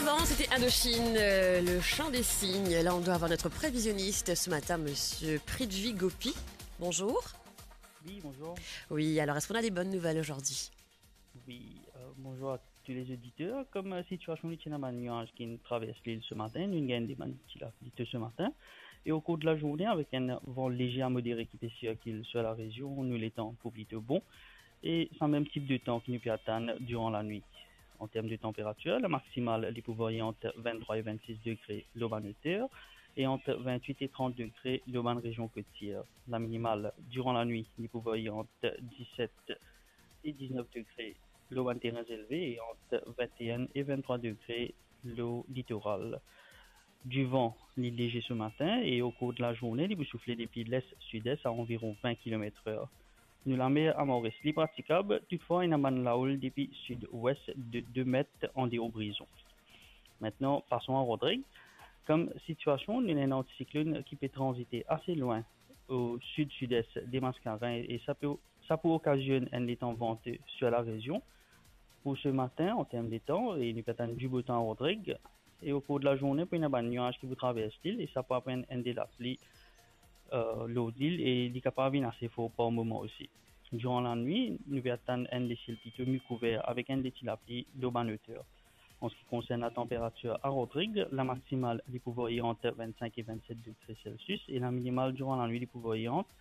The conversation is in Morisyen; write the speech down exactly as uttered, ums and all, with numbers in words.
Avant, c'était Indochine, euh, le chant des cygnes. Là, on doit avoir notre prévisionniste ce matin, monsieur Prithvi Gopi. Bonjour. Oui, bonjour. Oui, alors, est-ce qu'on a des bonnes nouvelles aujourd'hui ? Oui, euh, bonjour à tous les auditeurs. Comme euh, situation, nou ti ena bann nuaz ki travers lil se matin, nou gagn de bann ti lapli to se matin. E o kour de la zourne, avek enn van lezer a modere ki pe sirkil sir la rezion, nou letan pou plito bon. E sa mem tip de tan ki nou pe atann diran lanwit. An term de tanperatir, la maksimal, li pou varye ant venntrwa e vennsis degre lor bann oter e ant vennwit e trant degre lor bann rezion kotier. La minimal, diran lanwit, li pou varye ant diset e diznef degre lor bann terin zelve e ant vennteen e venntrwa degre lor litoral. Divan, li lezer se matin e o kour de la zourne, li pou soufle depi les-sides a anviron vin kilomet-er. Nou lamer a Moris, li pratikab, toutfwa ena bann laoul depi sid-wes de de met andeor Brison. Aster, pason a Rodrig. Kom sitiasion, nou ena enn antisiklonn ki pe tranzite ase lwin o sid-sid-es de Maskarin e sa pe, sa pou okazionn enn letan vante sir la rezion. Pou se matin, an term de tan, e nou pe atann dibotan a Rodrig. E o kour de la zourne, pou ena bann nuaz ki pou travers lil e sa pou apel enn de lapli uh, lor lil e li kapav vinn ase for par moman osi. Diran lanwit, nou pe atann enn lesiel plito mikouver avek enn de ti lapli lor bann oter. An se ki konsern la tanperatir a Rodrig, la maksimal, li pou varye ant vennsink e vennset degre Celsius e la minimal diran lanwit, li pou varye ant